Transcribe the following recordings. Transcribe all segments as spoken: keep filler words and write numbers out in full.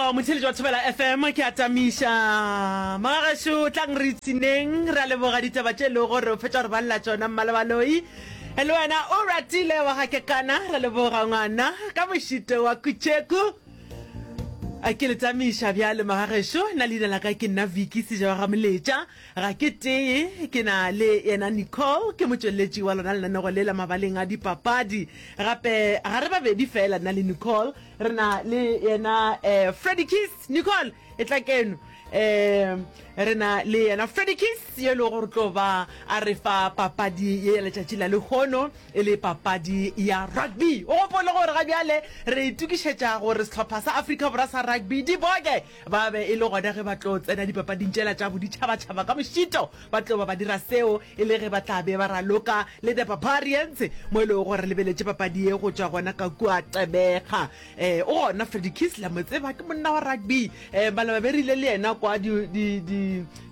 rialo motheletši wa Thobela F M, ke a tamiša magagešo, tlang re ipshineng. Re a leboga ditaba tše e lego gore o fetša gore balela tšona mmalebaloi. Le wena o ratile wa ga kekana, re leboga ngwana ka mošito wa kutšeku. Ke le tamiša bjale magagešo, nna leina la ka ke nna Vicky Seja wa ga Moletša. Ga ke tee, ke na le yena Nicole, ke motšweletši wa lona lenanego le la mabaleng a dipapadi. Gape ga re babedi fela, nna le Nicole, re na le yena um Freddy Kiss. Nicole, e tla keno. um re na le yena Freddy Kiss yo e lego gore tlo ba a re fa papadi ye ya letšatši la lehono, e le papadi ya rugby. O gopole gore ga bjale re itokišetša gore sehlopha sa Afrika Borwa sa rugby, diboke, ba be e le gona ge ba tlo tsena dipapading tšela tša boditšhabatšhaba ka mošito. Ba tlo ba ba dira seo e le ge ba tla be ba raloka le the Barbarians, mo e lego gore re lebeletše papadi ye go tšwa gona ka kua Gqeberha. um o gona Freddy Kiss, la mo tseba, ke monna wa rugby. um balaba be rile le yena kwa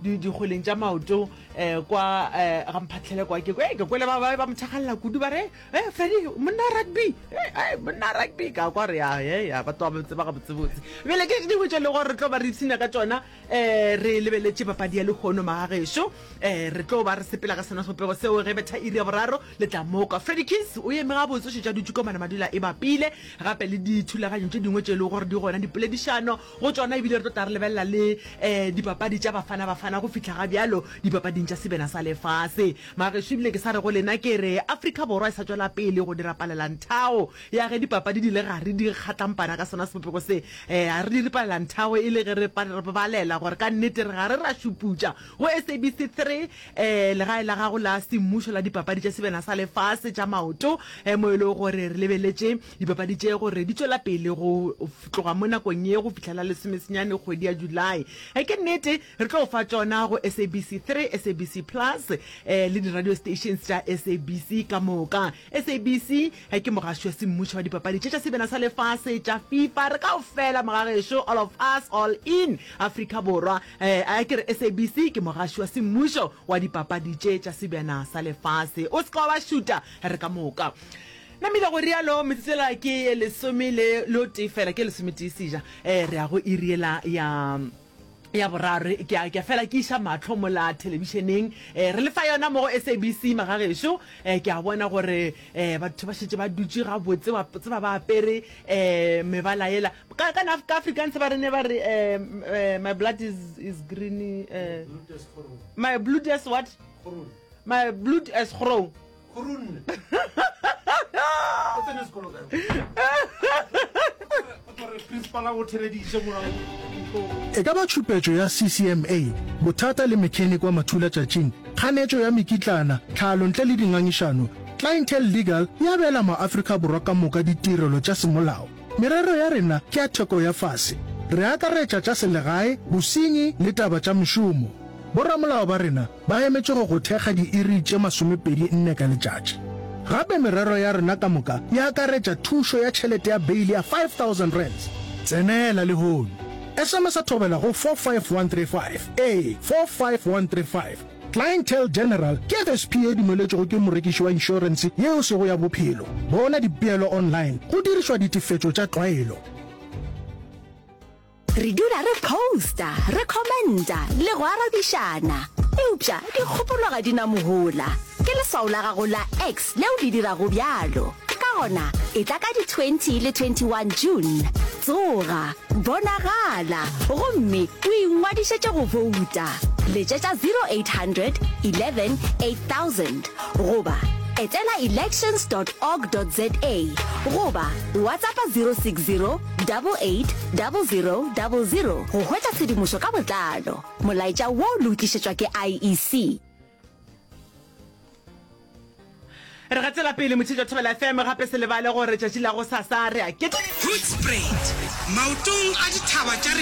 dikgweleng tša maoto um kwa um ga Mphatlhele kwa, ke ke kwele ba ba mo thakgalela kudu, ba re e Freddy monna wa rugby, e monna wa rugby, ka kwa re ya ya ba tloga ba tseba gabotsebotse. Bjale ke dingwe tše e le gore re tlo ba re ipshina ka tšona, um re lebeletše papadi ya lehono magagešo. um re tlo ba re sepela ka sona sebopego seo ge betha iri ya boraro. Le tla moka Freddy Kiss o eme gabotse, o šetše a dutše ko mana madula e bapile, gape le dithulaganyo tše dingwe tše e lego gore di gona, dipoledišano go tšona, ebile re tlo tla re lebelela le um dipapadi tša Bafana Bafana go fihla ga bjalo dipapading tša sebena sa lefase magešo. Ebile ke sa re go lena ke re Afrika Borwa e sa tšwela pele go dira palelanthago ya ge dipapadi di le gare di kgatlampana ka sona sebopego se. um re dire palelanthago e le ge re balela gore ka nnete re gare ra šuputša go S A B C three, um legae la gago la semmušo la dipapadi tša sebena sa lefase tša maoto, um mo e lego gore re lebeletše dipapadi tše gore di tšwela pele go tloga mo nakong ye go fihla la lesomesenyane kgwedi ya July. E ke nnete re tlo fa tšona go S A B C three, S A B C Plus, um le di-radio stations tša S A B C ka moka. S A B C ke mogaši wa semmušo wa dipapadi tše tša sebena sa lefase tša FIFA. Re kaofela mogagešo, all of us, all in Afrika Borwa. um a ke re S A B C ke mogaši wa semmušo wa dipapadi tše tša sebjana sa lefase. O se ka wa ba šuta, re ka moka namile go rialo. Metsotsela ke lesome le lo tee fela, ke lesometee seja, um re ya go iriela ya ya boraro. Ke a ke fela ke iša mahlo mola thelebišeneng, um re lefa yona mo go S A B C magagešo. um ke a bona gore um batho ba šetše ba dutše gabotse, wa tseba, ba apere um mebala yela ka ka ka Afrikaans ba re ne ba re um my blood is is green, uh, my blood is what, my blood is groen. Groen. O tsene sekolo kae? O principal o theleditše mo. E ka ba tšhupetšo ya C C M A, bothata le mechanic wa mathulatšatšing, kganetšo ya mekitlana, tlhalo ntle le dingangišano, Clientele Legal e abela maAfrika Borwa ka moka ditirelo tša semolao. Merero ya rena ke ya theko ya fase. Re akaretša tša selegae, bosenyi le taba tša mešomo. Boramolao ba rena ba emetše go go thekga diiri tše masomepedi nne ka letšatši. Gape merero ya rena ka moka e akaretša thušo ya tšhelete ya beile ya five thousand rands. Tsenela lehono. S M S thobela go four five one three five. Ee, four five one three five. Clientele General ke F S P ye dumeletšwego ke morekiši wa inšorense yeo sego ya bophelo. Bona dipeelo online go dirišwa ditefetšo tša tlwaelo. Re dula re posta, re commenta le go arabišana, eupša dikgopolo ga di na mohola. Ke leswao la gago la X leo le dirago bjalo. Ka gona e tla ka di twenty le twenty-one June, tsoga, bonagala gomme o ingwadišetše go bouta. Letšetša zero eight hundred eleven eight thousand goba etela elections dot org dot za goba WhatsAppa zero six zero eight eight zero zero zero go hwetša tshedimošo ka botlalo. Molaetša wo le o tlišetšwa ke I E C. Re gatela pele motšhetšo Thobela F M. Gape se lebale gore tšatši la go sasa re a Hoedspruit, maotong a dithaba tša